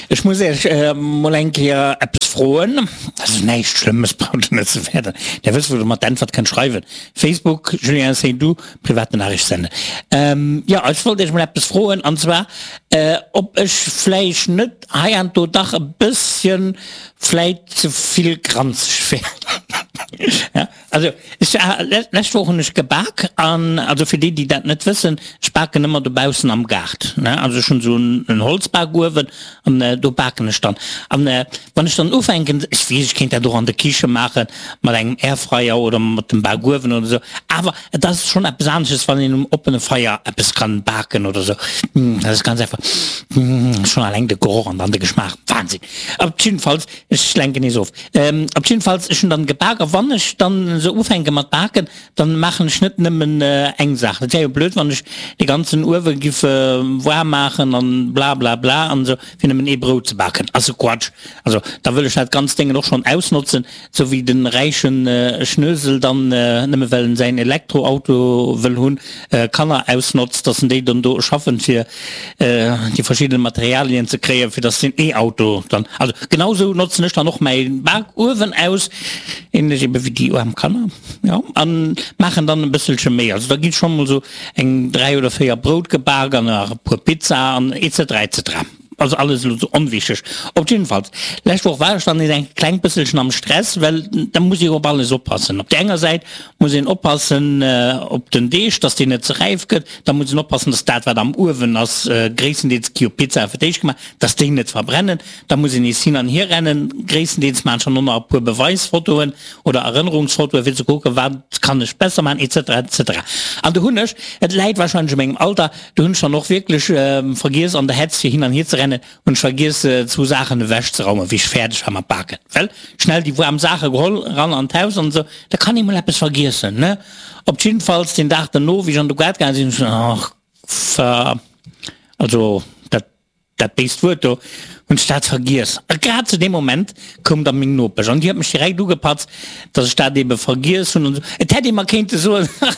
Ech muss Iech mol eng Kéier eppes froen. Dat ass näischt Schlëmmes, braucht Der net ze fäerten. Där wësst, wou Der mer d'Äntwert kënnt schreiwen. Facebook, Julien Seydoux, private Nachricht senden. Jo, ech wollt Iech mol eppes froen, an zwar, ob ech vläicht net heiansdo dach e bësschen vläit ze vill granzeg wär. Also ech, lescht Woch hunn ech gebak an, also fir déi déi dat net wëssen, ech baken ëmmer dobaussen am Gaart, ne, also ech hunn esou en Holzbakuewen an do baken ech dann. An wann ech dann ufänken, ech weess ech kéint dat och an der Kiche maache mat engem Airfryer oder mat dem Bakuewen oder esou, awer et ass schonn eppes anesches wann een um oppene Feier eppes kann baken oder esou, dat ass ganz einfach, schonn alleng de Geroch an dann de Geschmaach, Wahnsinn. Op jiddefalls Ech lenken nees of. Op jiddefalls, ech hunn dann gebak a wann ech dann esou ufänke mat baken, dann maachen ech net nëmmen eng Saach. Dat wär jo blöd, wann ech de ganzen Uewe giff waarm maachen an blablabla an esou, fir nëmmen ee Brout ze baken. Ass e Quatsch. Also da wëll ech dat ganzt Déngen och schonn ausnotzen, sou wéi de räichen Schnösel dann, nëmme well en säin Elektroauto wëll hunn, Kanner ausnotzt, dass en déi dann do schaffen, fir déi verschidden Materialien ze kréien, fir dass den E-Auto dann, also genau sou notzen ech dann och mäi Bakuewen aus, ähnlech ebe wéi déi aarm Kanner, jo, an maachen dann e bësselche méi. Also da gi scho mol sou eng 3 oder 4 Brout gebak an nach e puer Pizza an etc. Etc. Also alles elo sou onwichteg. Op jiddefalls, lescht Woch war ech dann nees eng kleng bësselchen am Stress, well da muss ee op alles oppassen. Op där enger Säit muss een oppassen op den Deeg, dass deen net ze räif gëtt, da muss een oppassen, dass dat wat am Uewen ass, gréisstendeels gi jo Pizzae fir d'éischt gemaach, dass déi net verbrennen. Da muss een nees hin an hier rennen, gréisstendeels maachen ech dann och nach e puer Beweisfotoen oder Erënnerungsfotoe fir ze kucken, wat kann ech besser maachen et cetera et cetera. An do hunn ech, et läit wahrscheinlech u mengem Alter, Do hunn ech dann och wierklech vergiess an der Hetz fir hin an hier ze rennen, hunn ech vergiess zwou Saachen ewech ze raumen wéi ech fäerdeg war mat baken. Well schnell déi waarm Saache geholl, ran an d'Haus an esou, da kann ee mol eppes vergiessen, ne? Op jiddefalls den Dag derno wéi ech an de Gaart gaange sinn, hunn ech geduecht, ach ver, also dat. Dat béist Wuert do, hunn ech dat vergiess. A grad zu deem Moment koum da meng Nopesch an déi huet mech direkt ugepatzt, datt ech dat ebe vergiess hunn an esou. Et hätt ee mer kéinte soen, Ach,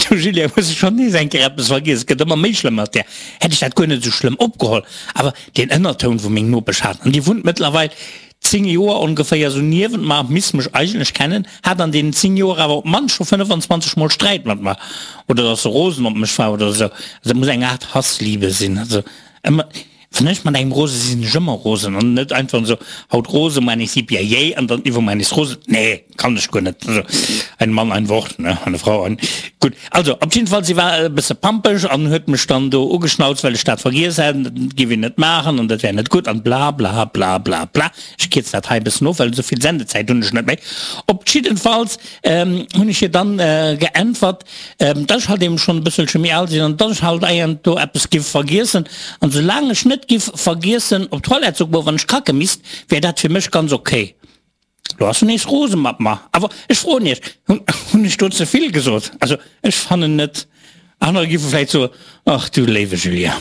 du Julien, hues de schonn nees eng Kéier eppes vergiess, et gëtt ëmmer méi schlëmm mat där. Hätt ech dat guer net esou schlëmm opgeholl. Awer deen Ënnertoun, wou meng Nopesch hat, an déi wunnt mëttlerweil 10 Joer ongeféier esou niewent mer, misst mech eigentlech kennen, hat an deenen 10 Joer awer op d'mannst scho 25 mol Sträit mat mer, oder dass se rosen op mech war oder esou. Also dat muss eng Art Hassliebe sinn. Also ëmmer, wann ech mat engem rose sinn, sinn ech ëmmer rosen an net einfach esou, haut rose, muer nees yippie-yay an dann iwwermuer nees rosen. Nee, kann ech guer net. Also ein Mann, ein Wort, ne, eine Frau, ein. Gutt, also op jidde Fall, si war e bësse pampeg an huet mech dann do ugeschnauzt, well ech dat vergiess hätt, dat géif een net maachen an dat wär net gutt an bla bla bla bla bla. Ech kierz dat hei e bëssen of, well esou vill Sendezäit hunn ech net méi. Op jiddefalls hunn ech hir dann geäntwert, dass ech halt eben schonn e bësselche méi al sinn an dass ech halt eigendwo eppes giff vergiessen an soulaang ech net giff vergiessen op d'Toilette ze goen, wann ech kacke misst, wär dat fir mech ganz ok. Lo ass en nees rose mat mer. Awer ech froen iech, hunn ech do ze vill gesot? Also ech fannen net. Anerer giffe vläit soen, Ach du léiwe Julien.